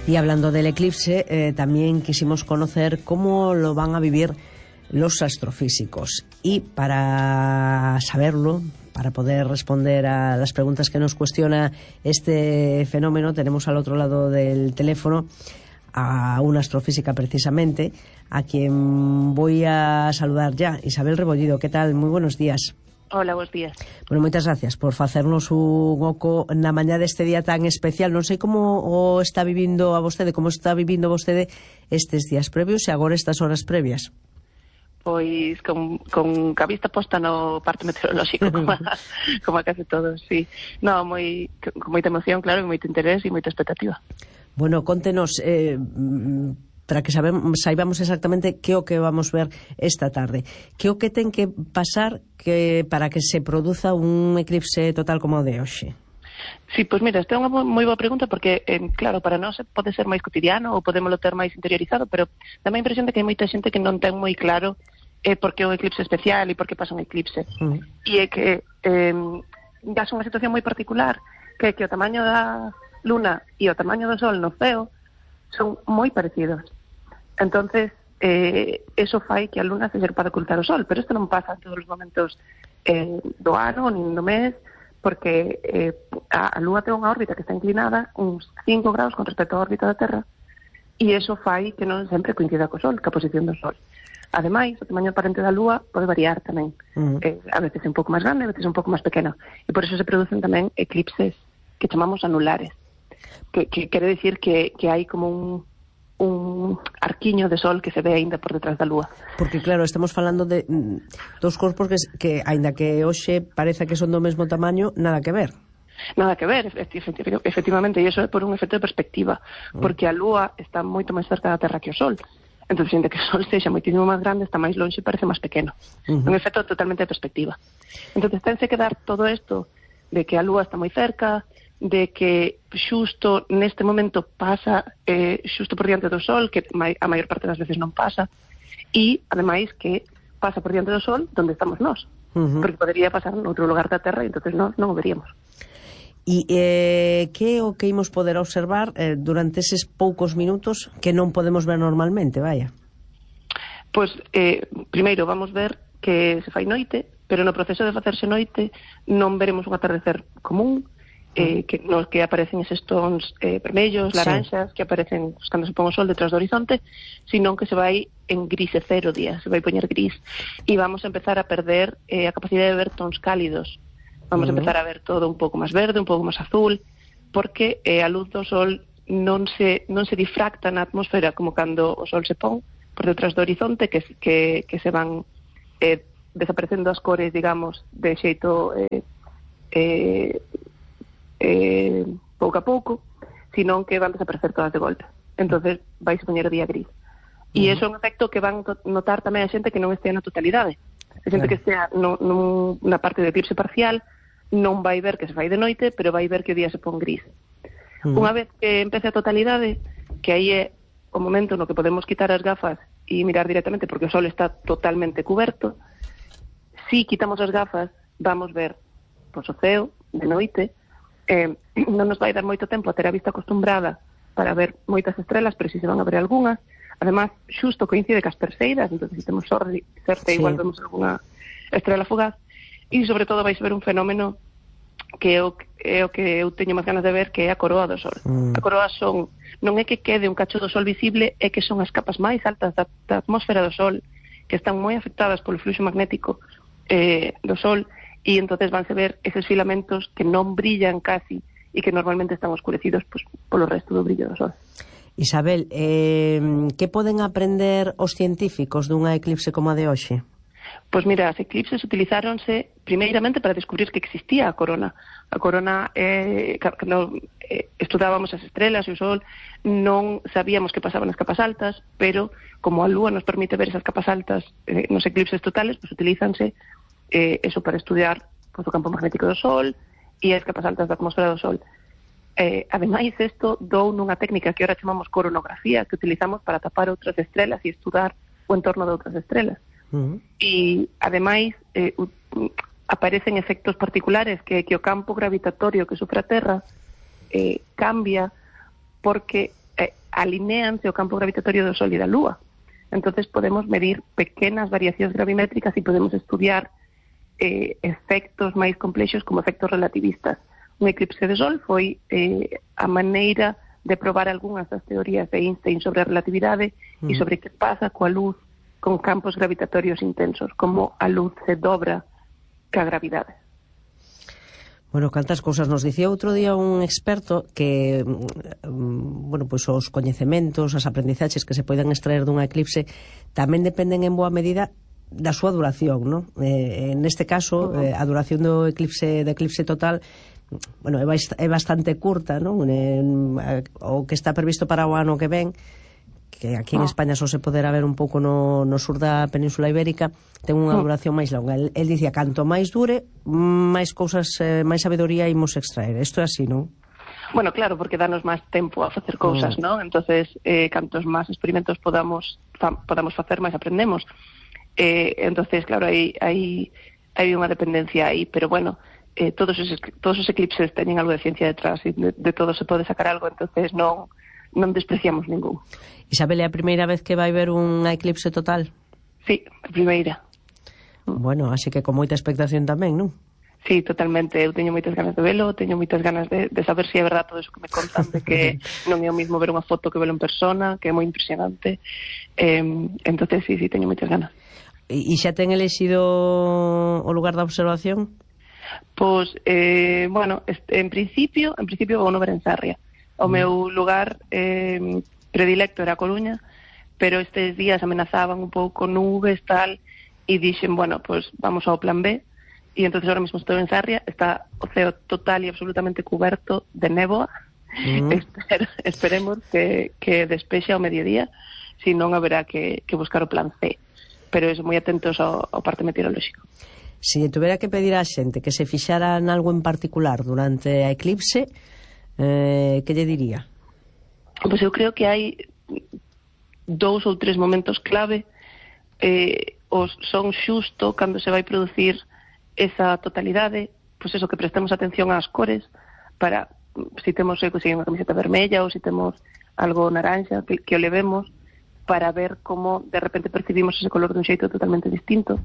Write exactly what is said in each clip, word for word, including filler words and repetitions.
Y hablando del eclipse, eh, también quisimos conocer cómo lo van a vivir los astrofísicos. Y para saberlo, para poder responder a las preguntas que nos cuestiona este fenómeno, tenemos al otro lado del teléfono a una astrofísica precisamente, a quien voy a saludar ya. Isabel Rebollido, ¿qué tal? Muy buenos días. Hola, buenos días. Bueno, moitas gracias por facernos un oco na mañá deste día tan especial. Non sei como o está vivindo a vostede, como está vivindo vostede estes días previos e agora estas horas previas. Pois con, con a vista posta no parte meteorolóxico, como a, como a case todos, sí. No, moi, con moita emoción, claro, e moito interés e moita expectativa. Bueno, contenos, eh, para que sabemos, saibamos exactamente que o que vamos ver esta tarde. Que o que ten que pasar que para que se produza un eclipse total como o de hoxe? Sí, pois mira, esta é unha moi boa pregunta porque, eh, claro, para nós pode ser máis cotidiano ou podémolo ter máis interiorizado, pero dá a impresión de que hai moita xente que non ten moi claro eh, por que é un eclipse especial e por que pasa un eclipse. Mm. E é que eh, dá unha situación moi particular que é que o tamaño da luna e o tamaño do sol no ceo son moi parecidos. Entonces, eh, eso fai que a luna se ser para ocultar o sol, pero isto non pasa en todos os momentos eh, do ano, nin do mes, porque eh, a, a lúa ten unha órbita que está inclinada uns cinco graus con respecto á órbita da Terra, e eso fai que non sempre coincida co sol, ca posición do sol. Ademais, o tamaño aparente da lúa pode variar tamén. Uh-huh. eh, a veces é un pouco máis grande, a veces é un pouco máis pequeno, e por eso se producen tamén eclipses que chamamos anulares, que, que quere decir que, que hai como un un arquiño de sol que se ve aínda por detrás da lúa. Porque claro, estamos falando de mm, dos corpos que, que aínda que hoxe parece que son do mesmo tamaño, nada que ver. Nada que ver, efectivamente, e iso é por un efecto de perspectiva, porque a lúa está moito máis cerca da Terra que o sol. Entón, xente que o sol sexa moitísimo máis grande, está máis longe e parece máis pequeno. Uh-huh. Un efecto totalmente de perspectiva. Entón, tense que dar todo isto de que a lúa está moi cerca, de que xusto neste momento pasa eh, xusto por diante do sol, que a maior parte das veces non pasa, e, ademais, que pasa por diante do sol donde estamos nós, uh-huh. porque podería pasar noutro lugar da Terra e entonces nós non o veríamos. E eh, que o que imos poder observar eh, durante eses poucos minutos que non podemos ver normalmente, vaya? Pois, eh, primeiro, vamos ver que se fai noite, pero no proceso de facerse noite non veremos un atardecer común, Eh, que, nos que aparecen eses tons eh, vermellos, laranxas, sí, que aparecen cando se pon o sol detrás do horizonte, sino que se vai en grisecero o día, se vai poñer gris, e vamos a empezar a perder eh, a capacidade de ver tons cálidos, vamos uh-huh. a empezar a ver todo un pouco máis verde, un pouco máis azul, porque eh, a luz do sol non se, non se difracta na atmosfera como cando o sol se pon por detrás do horizonte, que, que, que se van eh, desaparecendo as cores, digamos, de xeito eh, eh, Eh, pouco a pouco, senón que van desaparecer todas de golpe. Entonces vais a poñer o día gris. E uh-huh. iso é un efecto que van notar tamén a xente que non estea na totalidade. A xente claro. que estea no, no, na parte de eclipse parcial non vai ver que se fai de noite, pero vai ver que o día se pon gris. Uh-huh. Unha vez que empece a totalidade, que aí é o momento no que podemos quitar as gafas e mirar directamente, porque o sol está totalmente cuberto, si quitamos as gafas, vamos ver pois, o ceo de noite. Eh, non nos vai dar moito tempo a ter a vista acostumbrada para ver moitas estrelas, pero si se van a ver algunhas. Además, xusto coincide cas perseidas, entón se temos sorte, sí. igual vemos algunha estrela fugaz, e sobre todo vais ver un fenómeno que é o, é o que eu teño máis ganas de ver, que é a coroa do sol. Mm. A coroa son, non é que quede un cacho do sol visible, é que son as capas máis altas da, da atmosfera do sol, que están moi afectadas polo fluxo magnético eh, do sol, e entonces vanse ver eses filamentos que non brillan casi e que normalmente están oscurecidos pues, polo resto do brillo do sol. Isabel, eh, que poden aprender os científicos dunha eclipse como a de hoxe? Pois mira, as eclipses utilizáronse primeiramente para descubrir que existía a corona. A corona, eh, cando eh, estudábamos as estrelas e o sol, non sabíamos que pasaban as capas altas, pero como a lúa nos permite ver esas capas altas eh, nos eclipses totales, pues utilízanse Eh, eso para estudiar pues, o campo magnético do sol e as capas altas da atmosfera do sol. Eh, ademais, isto dou nunha técnica que ahora chamamos coronografía, que utilizamos para tapar outras estrelas e estudar o entorno de outras estrelas. Uh-huh. E, ademais, eh, u, aparecen efectos particulares que, que o campo gravitatorio que sufre a Terra eh, cambia porque eh, alineanse o campo gravitatorio do Sol e da Lúa. Entonces podemos medir pequenas variacións gravimétricas e podemos estudiar eh, efectos máis complexos como efectos relativistas. Un eclipse de Sol foi eh, a maneira de probar algunhas das teorías de Einstein sobre a relatividade uh-huh. e sobre que pasa coa luz con campos gravitatorios intensos, como a luz se dobra ca gravidade. Bueno, cantas cousas nos dicía outro día un experto que, bueno, pois os coñecementos, as aprendizaxes que se poden extraer dunha eclipse tamén dependen en boa medida da súa duración, non? Eh, neste caso, eh, a duración do eclipse, do eclipse total, bueno, é, é bastante curta, non? En, o que está previsto para o ano que ven, que aquí en España só se poderá ver un pouco no, no sur da Península Ibérica, ten unha duración máis longa. El, el dicía, canto máis dure, máis cousas, eh, máis sabedoría imos extraer. Isto é así, non? Bueno, claro, porque danos máis tempo a facer cousas, mm. non? Entonces, eh, cantos máis experimentos podamos fa, podamos facer, máis aprendemos. Eh, entonces, claro, hai, hai, hai unha dependencia aí, pero bueno, eh, todos, os, todos os eclipses teñen algo de ciencia detrás e de, de todo se pode sacar algo, entonces non, non despreciamos ningún. Isabel, é a primeira vez que vai ver un eclipse total? Sí, a primeira. Bueno, así que con moita expectación tamén, non? Sí, totalmente. Eu teño moitas ganas de velo, teño moitas ganas de, de saber se é verdade todo eso que me contan, de que non é o mismo ver unha foto que velo en persona, que é moi impresionante. Eh, entonces, sí, sí, teño moitas ganas. E xa ten elexido o lugar da observación? Pois, eh, bueno, en principio, en principio vou no ver en Sarria. O mm. meu lugar eh, predilecto era a Coruña, pero estes días amenazaban un pouco nubes, tal, e dixen, bueno, pues vamos ao plan B, e entonces ahora mismo estou en Sarria, está o ceo total e absolutamente cuberto de néboa, mm. Espero, esperemos que, que despexe ao mediodía, si non haberá que, que buscar o plan C, pero eso, moi atentos ao, ao parte meteorolóxico. Se si tuvera que pedir á xente que se fixara en algo en particular durante a eclipse, eh, que lle diría? Pois eu creo que hai dous ou tres momentos clave, eh, os son xusto cando se vai producir esa totalidade, pois eso, que prestemos atención ás cores, para, se temos se unha camiseta vermella ou se temos algo naranxa, que, que o levemos, para ver como de repente percibimos ese color dun xeito totalmente distinto.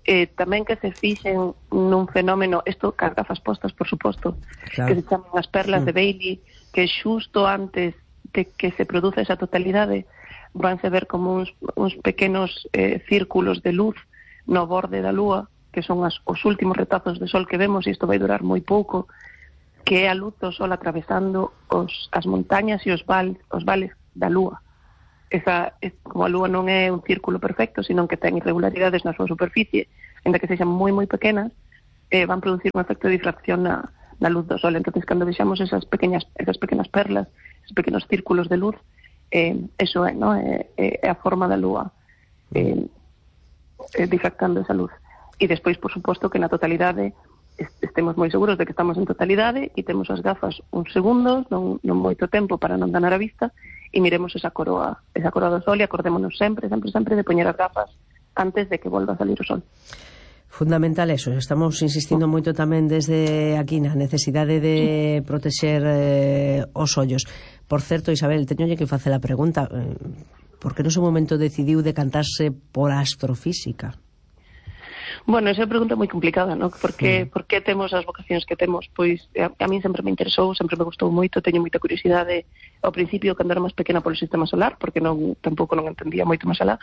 Eh, tamén que se fixen nun fenómeno, isto cas gafas postas, por suposto, claro, que se chaman as perlas mm. de Bailey, que xusto antes de que se produza esa totalidade vanse ver como uns, uns pequenos eh, círculos de luz no borde da lúa, que son as, os últimos retazos de sol que vemos, e isto vai durar moi pouco, que é a luz do sol atravesando os, as montañas e os, val, os vales da lúa. Esa, es, como a lúa non é un círculo perfecto, sino que ten irregularidades na súa superficie, ainda que sexan moi moi pequenas, eh, van producir un efecto de difracción na, na luz do sol. Entonces, cando vexamos esas pequeñas, esas pequenas perlas, esos pequenos círculos de luz, eh, eso é, ¿no? é, é a forma da lúa eh, eh, difractando esa luz. E despois, por suposto, que na totalidade estemos moi seguros de que estamos en totalidade e temos as gafas uns segundos, non, non moito tempo para non danar a vista, e miremos esa coroa, esa coroa do sol e acordémonos sempre, sempre, sempre de poñer as gafas antes de que volva a salir o sol. Fundamental eso, estamos insistindo moito tamén desde aquí na necesidade de protexer eh, os ollos. Por certo, Isabel, teñolle que facer a pregunta, eh, por que no seu momento decidiu decantarse por a astrofísica? Bueno, esa é unha pregunta moi complicada, ¿no? Por que, sí. por que temos as vocacións que temos? Pois a, a min sempre me interesou, sempre me gustou moito, teño moita curiosidade ao principio cando era máis pequena polo sistema solar, porque non tampouco non entendía moito máis alá,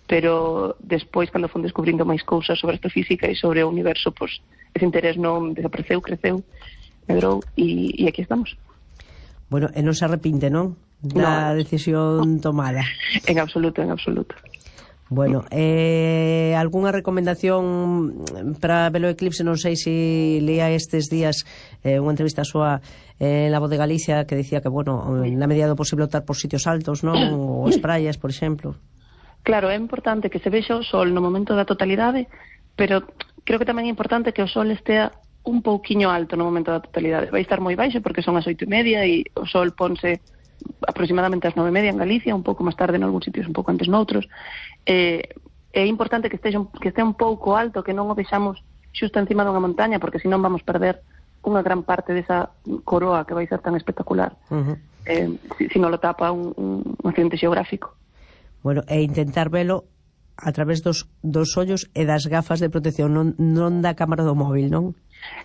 pero despois cando fun descubrindo máis cousas sobre astrofísica e sobre o universo, pois ese interés non desapareceu, creceu, medrou e, e aquí estamos. Bueno, e non se arrepinte, non? Da no, decisión tomada. En absoluto, en absoluto. Bueno, eh, algunha recomendación para ver o eclipse? Non sei se leía estes días eh, unha entrevista súa eh, en La Voz de Galicia que dicía que, bueno, na medida do posible optar por sitios altos, non? Ou as praias, por exemplo. Claro, é importante que se vexa o sol no momento da totalidade, pero creo que tamén é importante que o sol estea un pouquiño alto no momento da totalidade. Vai estar moi baixo porque son as oito e media e o sol ponse aproximadamente ás nove e media en Galicia, un pouco máis tarde en algúns sitios, un pouco antes noutros. Eh, é importante que esteja, que estea un pouco alto, que non o vexamos xusto encima dunha montaña, porque senón vamos perder unha gran parte desa coroa que vai ser tan espectacular. Uh-huh. eh, si, si non lo tapa un, un accidente xeográfico. Bueno, e intentar velo a través dos, dos ollos e das gafas de protección, non, non da cámara do móvil, non?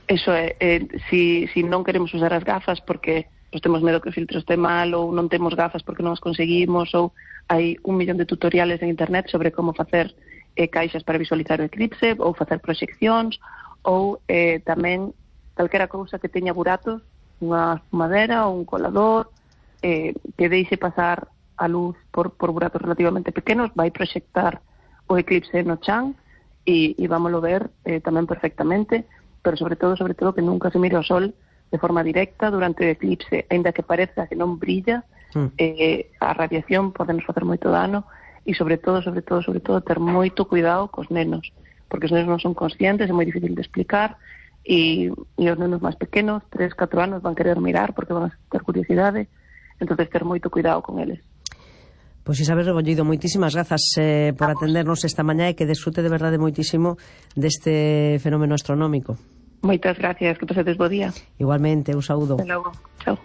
Eso é, eh, si, si non queremos usar as gafas porque pues, temos medo que o filtro este mal, ou non temos gafas porque non as conseguimos, ou hai un millón de tutoriales en internet sobre como facer eh, caixas para visualizar o eclipse, ou facer proxeccións, ou eh, tamén calquera cousa que teña buratos, unha madera ou un colador, eh, que deixe pasar a luz por, por buratos relativamente pequenos, vai proxectar o eclipse no chan e, e vámoslo ver eh, tamén perfectamente, pero sobre todo, sobre todo que nunca se mire o sol de forma directa durante o eclipse, aínda que pareza que non brilla, mm. eh, a radiación pode nos facer moito dano e sobre todo, sobre todo, sobre todo ter moito cuidado cos nenos, porque os nenos non son conscientes, é moi difícil de explicar e, e os nenos máis pequenos, tres, catro anos, van querer mirar porque van a ter curiosidade, entonces ter moito cuidado con eles. Pois Isabel Rebollido, moitísimas grazas eh, por atendernos esta mañá e que desfrute de verdade moitísimo deste fenómeno astronómico. Moitas gracias, que pasedes bo día. Igualmente, un saúdo. Hasta logo, chao.